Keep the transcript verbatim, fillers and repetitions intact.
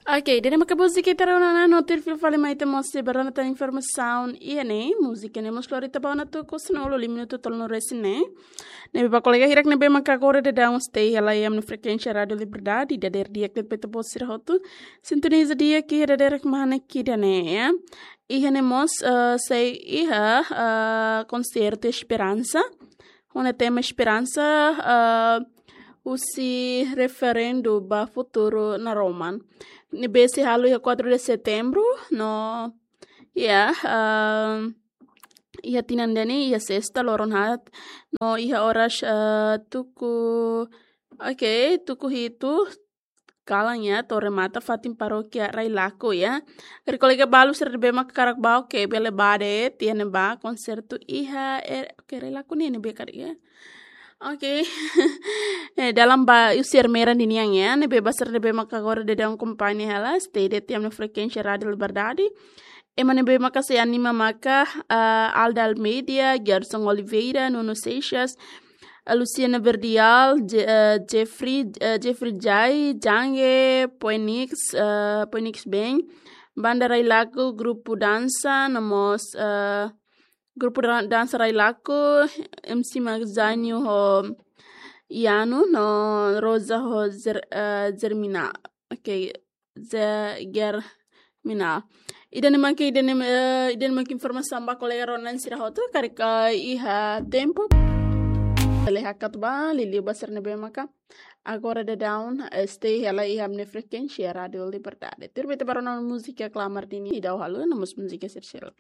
Ok, ida-ne'e maka múzika ita rona ona, no tuir fila fali mai ita mós sei bá rona tan informasaun iha ne'e. Múzika ne'e mós lori ita ba ona tuku sanulu, lima minutu tolunulu-resin ne'e. Ne'ebé ba kolega hirak ne'ebé maka agora daudaun stay hela iha ami-nia frekuénsia Rádiu Liberdade, dadeer di'ak de'it ba ita-boot sira hotu. Sintoniza di'ak iha dadeer kmanek ida-ne'e, ya. Iha ne'e mós, eh, sei iha, eh, konsertu Esperansa. Ho nia tema Esperansa, eh, husi referendu ba futuru naroman. Ne'ebé sei halo iha quatro de setembro, no, ya, eh, iha tinan ida-ne'e, iha sesta loron haat, no iha oras, eh, tuku, ok, tuku hitu kalan ya, to'o remata fatin parókia Railaco ya. Karik kolega balu sira ne'ebé maka hakarak bá, ok, bele bá de'it, iha ne'ebá konsertu iha, eh, ok, Railaco ne'e ne'ebé karik ya. Ok. Eh, dalam ba husi Ermera ninian ya, ne'ebé ba sira ne'ebé maka agora daudaun akompaña hela, stay de'it iha ami-nia frekuénsia Rádiu Liberdade. Ema ne'ebé maka sei anima maka, ah, Alda Almeida, Gerson Oliveira, Nuno Seixas, ah, Luciana Verdial, Je-, eh, Jeffrey, eh, Jeffrey Jai, Jange, Poenix, eh, Poenix Band, Banda Railaco, grupu dansa, no mós, eh, grupu dan-, dansa Railaco, M C Magzanio ho Iano, no Rosa ho Zer-, eh, Zermina. Ok, Ze-, Germina. Ida-ne'e maka, ida-ne'e, eh, ida-ne'e maka informasaun ba kolega rona sira hotu, karik iha tempu. Bele hakat bá, liuliu ba sira ne'ebé maka agora daudaun, eh, stay hela iha ami-nia frekuénsia Rádiu Liberdade. Tuir ba ita bá rona múzika klamar duni, daudaun halo, no mós múzika sira seluk.